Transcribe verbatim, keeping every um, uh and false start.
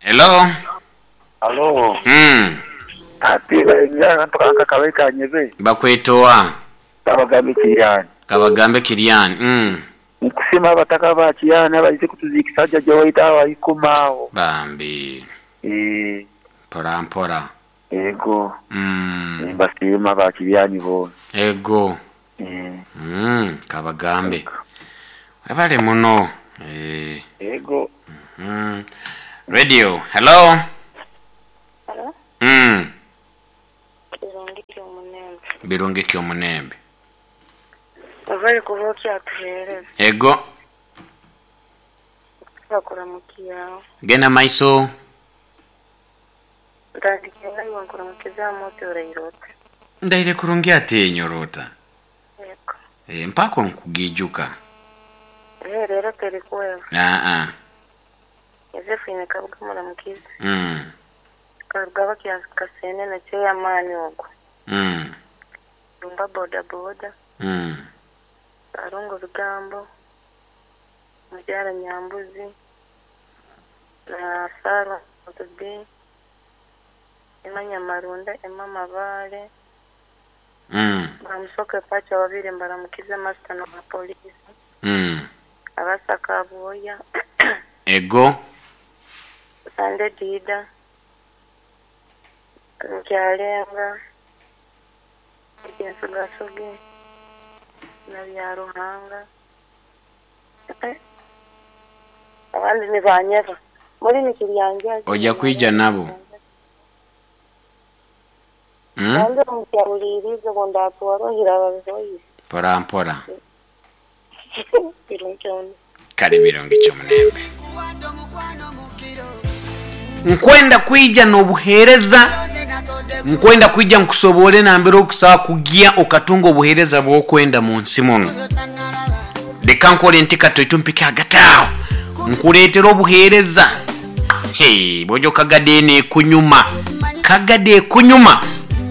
Hello. Alo, Mm. ati nkaakabaika nyebe Bakwetoa. Kabagambe Kiriyani. Kabagambe Kiriyani. Mm. Nkusima abataka ba Kiriyani abaize kutuzikisa jjajja waitu awo aikumaawo. Bambi. Eh, Mpora mpora. ego Mm. mbasiima ba Kiriyani boona. Ego. Eh, Mm. Kabagambe. Webale muno. Eh. ego Mm. Radio. Hello. Hello? Mm. Birungi ky'omunembe. Birungi ky'omunembe. Ovale kuba okyatuheereza. Ego. Bakuramukiyawo. Genda maiso. Ntandikira iwe nkuramukizaamu oti oraire oti. Ndaire kurungi ati enyorota. Yego. E, mpako nkugijuka. Eh, rero terikuwewa. Ah ah. Yosefu Kabuga muramukize. Mm. Karuga bakya kasene na chairman ogwo. Mm. Lumba boda boda. Mm. Karungu Bigambo. Mukyala Nyambuzi. Na Sarah Otubi. Emma Nyamarunda, Emma Mabale. Mm. Bamusoke pacha babiri mbaramukize master na polisi. Mm. Abasaka Aboya. Ego. Sande Dida. Nkyalenga. Ekyensugasugi. Na Byaruhanga. Eh, abandi nibanyeba. Muri nikiryanjazi. Ojja kwija nabo. Mm? Nange mukyawulirize bw'ondaatwarohira babihoire. Mpora mpora. Birungi kyona. Kale birungi ky'omunembe. Nkwenda kwija n'obuheereza, nkwenda kwija nkusobole nambere okusobola kugya okatunga obuheereza bw'okwenda mu nsi muno. Leka nkole nti katoito mpike hagati aho nkuleetera obuheereza. Hey, bw'ojo kagadde eno ekunyuma, kagadde ekunyuma.